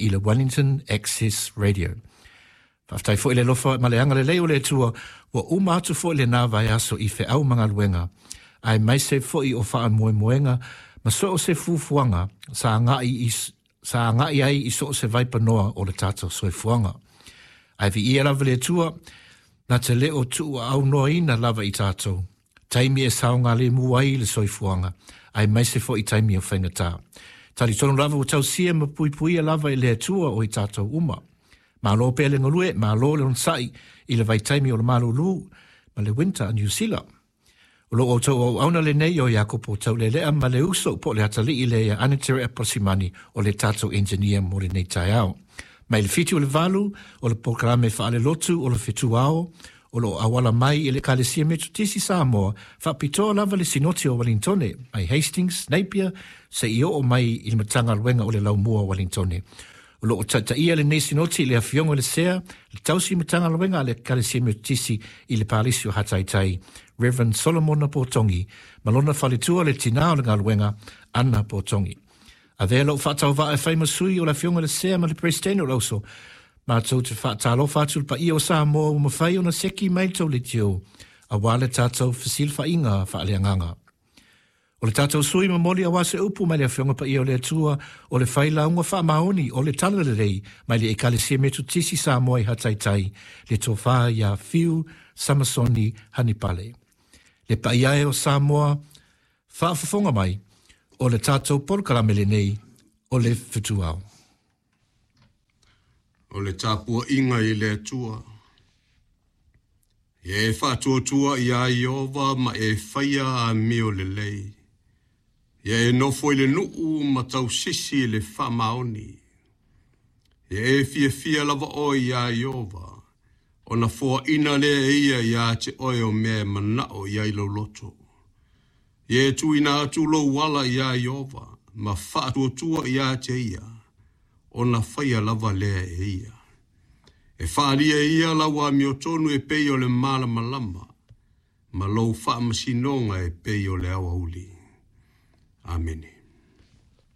i le Wellington Access Radio. Faafetai foi le alofa ma le agalelei o le Atua ua uma atu foi lenā vaiaso i feau ma galuega, aemaise foi o faamoemoega ma so o se fuafuaga sa agai i sa agai ai i so o se vaipanoa o le tatou soifuaga. Ae viia lava le Atua, na te le o tuuaunoaina lava i tatou, taimi e saogalemu ai le soifuaga, aemaise foi taimi o faigata. Talitonu lava ua tausia ma puipuia lava e le Atua o i tatou uma. Malo pea le galue, malo le onosai i le vaitaimi o le malūlū ma le winter a Niu Sila. O lo outou auauna lenei o Iakopo Taulelea ma le uso po o le atalii lea ia Anatere Aposimani o le tatou engineer mo lenei taeao. Mai le 7 o le 8 o le polokalame faalelotu o le fetuao o lo o auala mai i le Ekalesia Metotisi Samoa, faapitoa lava le Sinoti o Uelintone, mai Hastings, Napier, seia oo mai i le Matagaluega o le Laumua o Uelintone. O lo o taitaia lenei Sinoti i le Afioga i le Sea, le Tausi Matagaluega a le Ekalesia Metotisi i le Palisi o Hataitai, Rev. Solomona Potongi, ma lona faletua le Tinā o le Galuega, Ana Potongi. Avea lou faatauvaa e fai ma sui o le Afioga i le Sea ma le Peresetene o le Auso, matou te faatalofa atu i le paia o Samoa ua mafai ona seki mai le tou leitio aua le tatou fesilafaiga faaleagaga. O le tatou sui momoli aua se upu mai le Afioga Paia o le Atua o le Failauga Faamaoni o le Talalelei mai le Ekalesia Metotisi Samoa i Hataitai, le Tofa ia Fiu Samasoni Hanipale. Le paia e o Samoa, faafofoga mai, o le tatou polokalame lenei o le Fetuao. O le tapuaiga i le Atua. Ia e faatuatua iā Ieova ma e faia amio lelei. Ia e nofo i le nuu ma tausisi i le faamaoni. Ia e fiafia lava oe iā Ieova, ona foaina lea e ia iā te oe o mea e manao i ai lou loto. Ia e tuuina atu lou ala iā Ieova ma faatuatua iā te ia, ona faia lava lea e ia. E faaalia e ia lau amiotonu e pei o le malamalama, ma lou faamasinoga e pei o le aoauli. Amene.